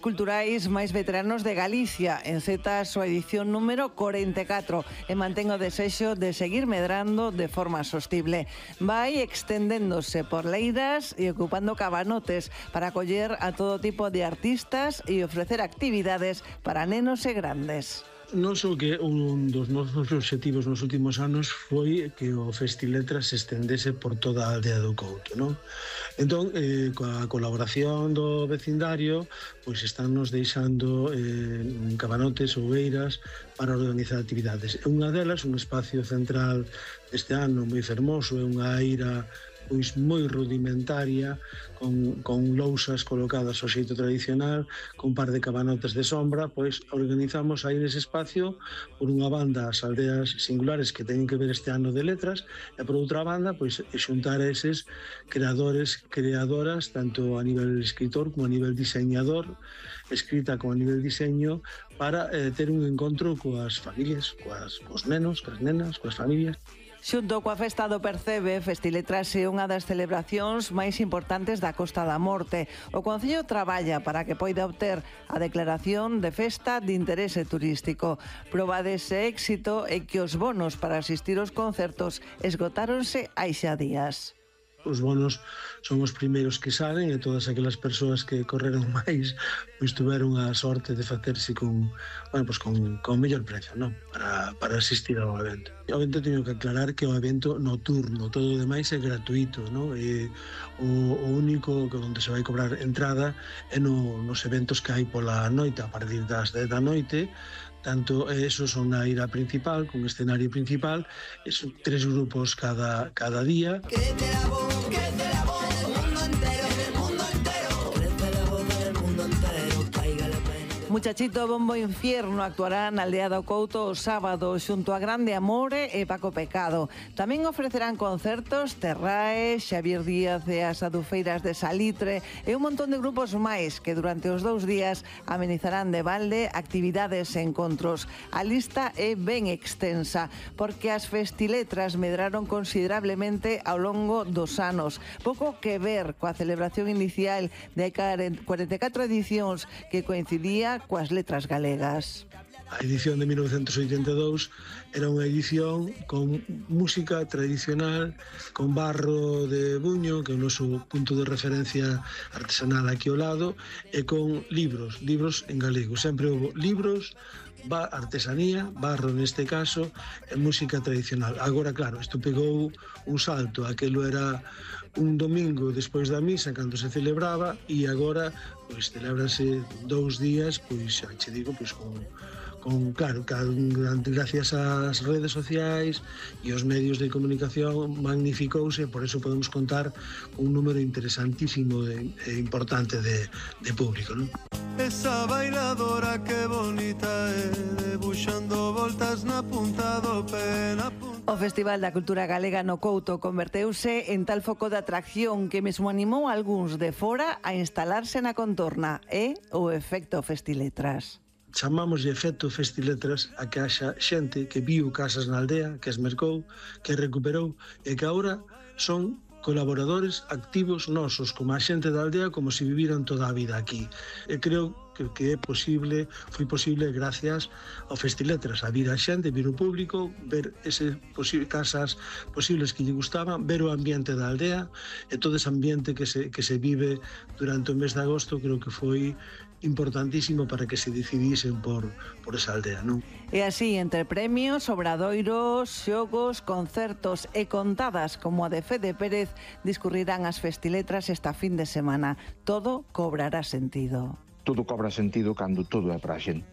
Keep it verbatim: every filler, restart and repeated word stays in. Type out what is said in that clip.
Culturais máis veteranos de Galicia enceta a súa edición número corenta e catro e mantén o desexo de seguir medrando de forma sostible. Vai extendéndose por leiras e ocupando cabanotes para acoller a todo tipo de artistas e ofrecer actividades para nenos e grandes. Non só que un dos nosos obxectivos nos últimos anos foi que o Festiletras se estendese por toda a aldea do Couto, non? Entón, eh, coa colaboración do vecindario, pois están nos deixando eh, cabanotes ou eiras para organizar actividades. Unha delas, un espacio central este ano moi fermoso, é unha eira pois moi rudimentaria, con, con lousas colocadas ao xeito tradicional, con un par de cabanotes de sombra, pois organizamos aí nese espacio por unha banda as aldeas singulares que teñen que ver este ano de letras, e por outra banda, pois xuntar a eses creadores, creadoras, tanto a nivel escritor como a nivel diseñador, escrita como a nivel diseño, para eh, ter un encontro coas familias, coas, coas nenos, coas nenas, coas familias. Xunto coa Festa do Percebe, Festiletras é unha das celebracións máis importantes da Costa da Morte. O Concello traballa para que poida obter a declaración de festa de interese turístico. Proba dese éxito é que os bonos para asistir aos concertos esgotáronse hai xa días. Os bonos son os primeiros que salen e todas aquelas persoas que correron máis pois tuveron a sorte de facerse con, bueno, pois con, con mellor precio, non? Para, para asistir ao evento. O evento teño que aclarar que o evento noturno, todo o demais é gratuito, non? E o, o único que onde se vai cobrar entrada é no, nos eventos que hai pola noite, a partir das dez da noite. Tanto esos son na eira principal, con escenario principal, e son tres grupos cada, cada día. Crece la voz, crece la voz del mundo entero, del mundo entero. Crece la voz del mundo entero, caiga la pena. Muchachito Bombo Infierno actuará na aldea do Couto o sábado xunto a Grande Amore e Paco Pecado. Tamén ofrecerán concertos Terrae, Xavier Díaz e as Adufeiras de Salitre e un montón de grupos máis que durante os dous días amenizarán de balde actividades e encontros. A lista é ben extensa porque as Festiletras medraron considerablemente ao longo dos anos. Pouco que ver coa celebración inicial de cuarenta e catro edicións que coincidía coas letras galegas. A edición de mil novecentos oitenta e dous era unha edición con música tradicional, con barro de Buño, que é o noso punto de referencia artesanal aquí ao lado, e con libros, libros en galego. Sempre houve libros, artesanía, barro neste caso, e música tradicional. Agora, claro, isto pegou un salto, aquelo era un domingo despois da misa cando se celebraba e agora pois celebrase dous días, pois xa che digo, pois con con claro, gracias ás redes sociais e aos medios de comunicación magnificouse, por eso podemos contar un número interesantísimo e importante de, de público, non? Esa bailadora que bonita é, debuxando voltas na punta do pé, na punta. O Festival da Cultura Galega no Couto converteuse en tal foco de atracción que mesmo animou a algúns de fora a instalarse na contorna. É o efecto Festiletras. Chamamos de efecto Festiletras a que haxa xente que viu casas na aldea, que as mercou, que recuperou e que agora son colaboradores activos nosos, como a xente da aldea, como se viviran toda a vida aquí. E creo que, que é posible, foi posible gracias ao Festiletras, a vir a xente, vir o público, ver ese posible, casas posibles que lle gustaban, ver o ambiente da aldea e todo ese ambiente que se, que se vive durante o mes de agosto, creo que foi importantísimo para que se decidisen por, por esa aldea, non? E así, entre premios, obradoiros, xogos, concertos e contadas como a de Fede Pérez, discurrirán as Festiletras esta fin de semana. Todo cobrará sentido. Todo cobra sentido cando todo é para a xente.